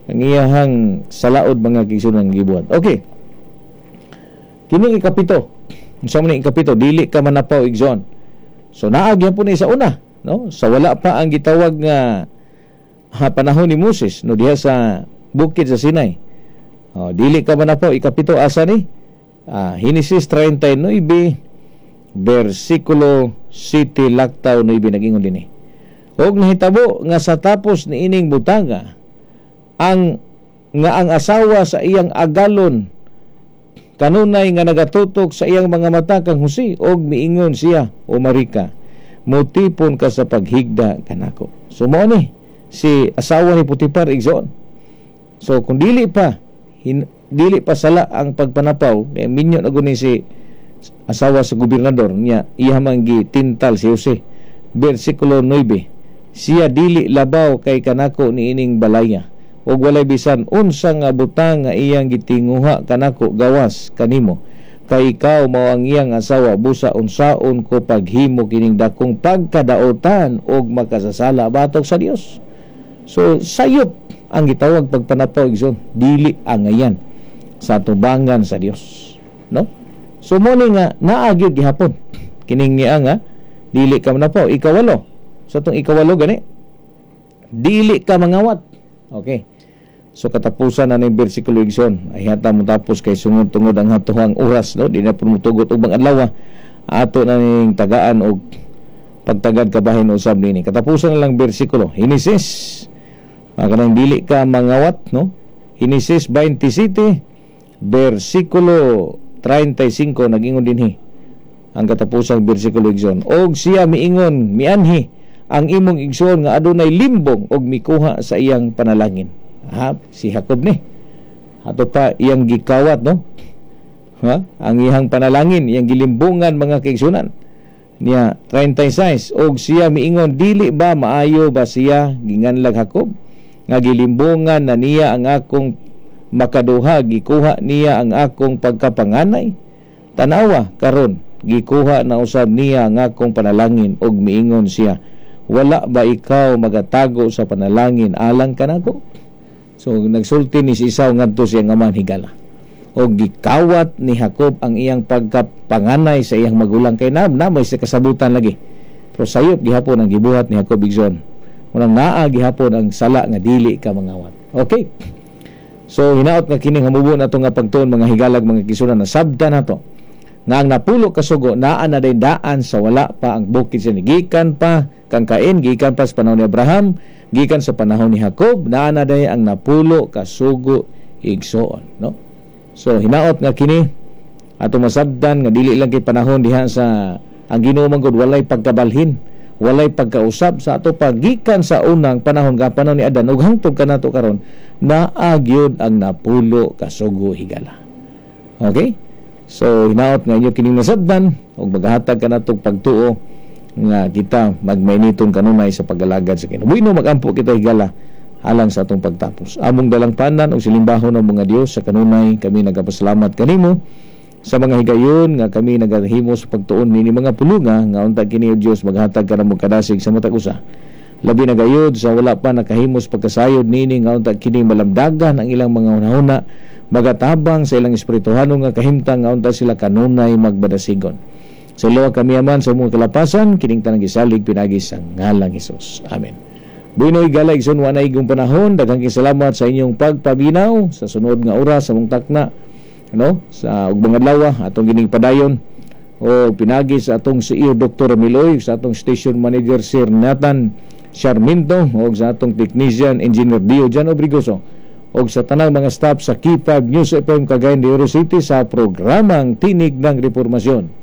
Ang iyahang salaod, mga kaigsuonan, gibuhat. Okay. Kini ikapito. Unsa man ni ikapito? Dili ka manapaw, igsoon. So naa gyapon ni sa una, no? Sa wala pa ang gitawag nga ha, panahon ni Moses, no, diha sa bukid sa Sinai. Oh, dili ka manapaw, ikapito, asa ni? Genesis 39 versikulo 7 laktaw 9, nag-ingon dinhi. Og nahitabo nga sa tapos niining butanga ang nga ang asawa sa iyang agalon kanunay nga nagatutok sa iyang mga mata kang Jose, og miingon siya, "O Marika, mutipon ka sa paghigda kanako." So mao ni si asawa ni Potifar, igsoon. So kung dili pa sala ang pagpanapaw kay minyo na guni si asawa sa gobernador niya, iya man gitintal si Jose. Versikulo 9, "Siya dili labaw kay kanako niining balaya, ug walay bisan unsa nga butang nga iyang gitinguha kanako gawas kanimo, kay ikaw mao ang iyang asawa. Busa unsaon ko paghimo kining dakong pagkadaotan ug makasasala batok sa Dios?" So sayop ang gitawag pagpanapaw, igsoon, dili angayan sa tubangan sa Dios, no? So mo ni nga naa gyud gihapon kining niya nga dili ka manapaw. Ikawalo, sa tong ikawalo gani, dili ka mangawat. Okay. So katapusan na ning bersikulo, igsoon. Ay hata mo tapos kay sungod tungod ang hatuhang oras, no, di na pumutugot og mga adlaw. Ato na ning tagaan og pagtagad kabahin usab nini. Katapusan na lang bersikulo. Genesis. Kanang dili ka mangawat, no? Genesis 27 versikulo 35, nag-ingon dinhi ang katapusang bersikulo, igsoon. "Og siya miingon, 'Mianhi ang imong igsoon nga adunay limbong og mikuha sa iyang panalangin.'" Ha, si Jacob ni. Ato pa iyang gikawat, no? Ha? Ang iyang panalangin, iyang gilimbungan, mga kaigsunan. Niya 36, "Og siya miingon, 'Dili ba maayo ba siya ginganlag Jacob nga gilimbungan na niya ang akong makaduha, gikuha niya ang akong pagkapanganay? Tanawa karon, gikuha na usab niya ang akong panalangin, og miingon siya, 'Wala ba ikaw magatago sa panalangin alang kanako?'" So nagsulti ni si Esau ngadto siyang amahan, higala. Og gikawat ni Jacob ang iyang pagkapanganay sa iyang magulang kay na may sa kasabutan lagi. Pero sayop gihapon ang gibuhat ni Jacob, igsoon. Munang naa gihapon ang sala nga dili ka mangawat. Okay. So hinaot nga kining hamubo nato nga pagtuon, mga higalag, mga kaigsuonan, na sabta nato nga ang 10 ka sugo naa na day daan sa wala pa ang bukid sa gikan pa kang Cain, gikan pa sa panahon ni Abraham, gikan sa panahon ni Jacob, naa na day ang 10 ka sugo, igsoon, no? So hinaot nga kini ato masabdan nga dili lang kay panahon diha sa ang Ginoo man gud walay pagkabalhin, walay pagkausab sa ato pagikan sa unang panahon nga panahon ni Adan ug hangtod kanato karon, naa gyud ang 10 ka sugo, higala. Okay? So hinaot nga inyo kining nasabdan ug maghatag kanatong pagtuo nga kita magmainiton kanunay sa pag-alagad sa Ginoo. Bueno, magampo kita, higala, alang sa atong pagtapos. Among dalangpanan ug silimbahon ng mga Dios sa kanunay, kami nagapasalamat kanimo sa mga higayon nga kami nagahimo sa pagtuon nini mga pulunga nga unta kini o Dios maghatag ka namo kadasig sa matag usa. Labi na gayud sa wala pa nakahimos pagkasayod nini nga unta kini malamdagan ang ilang mga hunahuna, magatabang sa ilang espirituhano nga kahimtang nga unta sila kanunay magbadasigon. Sa luwa kami aman sa mga kalapasan, kining tanang gisalig pinagi sa ngalang Hesus. Amen. Buinoy gala, igsoon, wa na igong panahon. Daghang salamat sa inyong pagpaminaw. Sa sunod nga oras sa mong takna, no, sa ug mga adlaw atong gining padayon o pinagi sa atong CEO Dr. Miloy, sa atong station manager Sir Nathan Sarmiento, o sa atong technician Engineer Dio Jan Obrigoso, o sa tanang mga staff sa K5 News FM Cagayan de Oro City sa programang Tinig ng Reformasyon.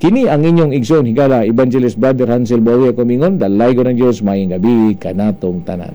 Kini ang inyong igsoon, higala, Evangelist Brother Hansel Bawi Kumingon, dalaygon ng Diyos, maayong gabi kanatong tanan.